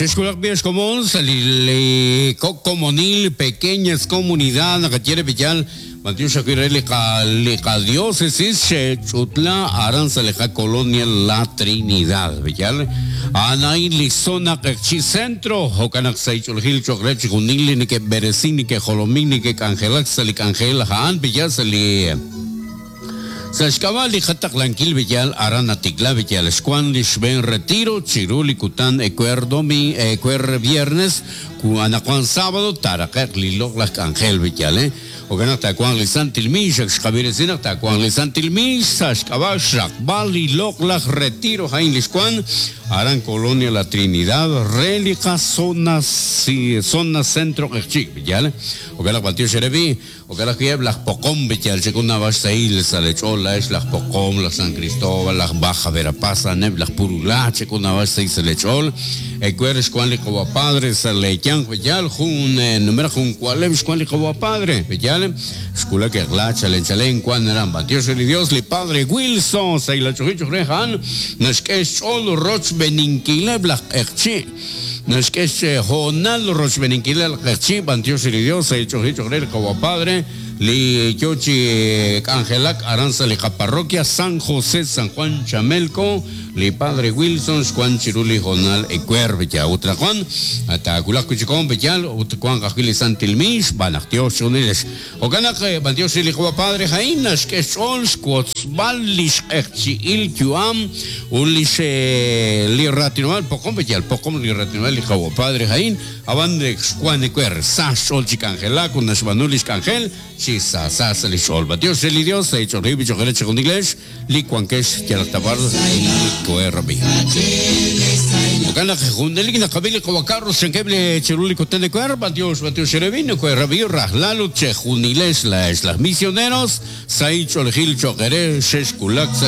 Chexwulaq b'i' ex komon sa' li kok' komonil, pequeñas comunidad, naqaye re b'iyal, b'antiox ajwi' re li qa li qadiócesis xe'ch'utla aran sa' li qacolonia La Trinidad, b'iyal. A'an a'in li zona Q'eqchi' Centro, jo'kan naq sa' ich'oolejil cho'q re chixjunil li neke'b'eresink, neke'jolomink, neke'k'anjelak sa' li k'anjel a'an, b'iyal sa' li. Sa' xk'ab'a' li qataqlankil b'eyal aran natikla b'eyal xwank li xb'een retiro chiru li kutan ewer domi ewer viernes ku anaqwan sábado taaraqe'q li loq'laj k'anjel b'eyal eh jo'kan naq taawanq li santil miix ak xqab'eresi naq taawanq li santil miix sa' xk'ab'a' xraqb'al li loq'laj retiro a'in li xwank aran Colonia La Trinidad re li qazona zona centro Q'eqchi' b'eyal jo'kan naq b'antiox eere b'i' Jo'kan ajwi' eb' laj Poqom, yal chek'ul naab'al xsahil sa' leech'ool laa'ex laj Poqom, laj San Cristóbal, laj Baja Verapaz, a'aneb' laj Purulá, chek'ul naab'al xsahil sa' leech'ool. Ewer xwank li Qawa' Padre sa' leeyanq, yal jun numenaq jun wa'leb' xwank li Qawa' Padre, yal xwulak eq'la chalen chalen wank aran. B'antiox re li Dios, li Padre Wilson sa' ilach'oji cho'q re a'an naxk'e xch'ool rochb'eninkileb' laj q'eqchi'. Naxk'e xhoonal rochb'eeninkil al q'eqchi' b'antiox li Dios sa' ich'oji cho'q re li Qawa' Padre li yo chi k'anjelak aran sa' li qaparroquia San José San Juan Chamelco, li Padre Wilson xwank chiru li hoonal ewer b'eya ut anaqwan taawulaq wi' chik hoon b'eyal ut wanq ajwi' li santil miix xb'aan naq Dios chixjunilex. Jo'kan naq, b'antiox re li Qawa' Padre a'in naxk'e xch'ool xwotzb'al lix q'eqchi'il yu'am ut lix li raatinob'aal poqom, yal poqom li raatinob'aal li Qawa' Padre a'in, ab'an xwank ewer, sa xch'ool chi k'anjelak ut naxb'aanu lix k'anjel chi sa sa sa' lix ch'ool. B'antiox re li Dios, sa' ich'ool rib' cho'q re chejunilex li wankex yalaq ta b'ar li koherab'i. Jo'kan naq junelik naqab'i li Qawa' Carlos chankeb' li chiru li kutan ewer, b'antiox, b'antiox erebi, nokoherab'i rajlal ut chejunilex laa'ex laj misioneros, sahil ch'oolejil cho'q eere xexwulak sa'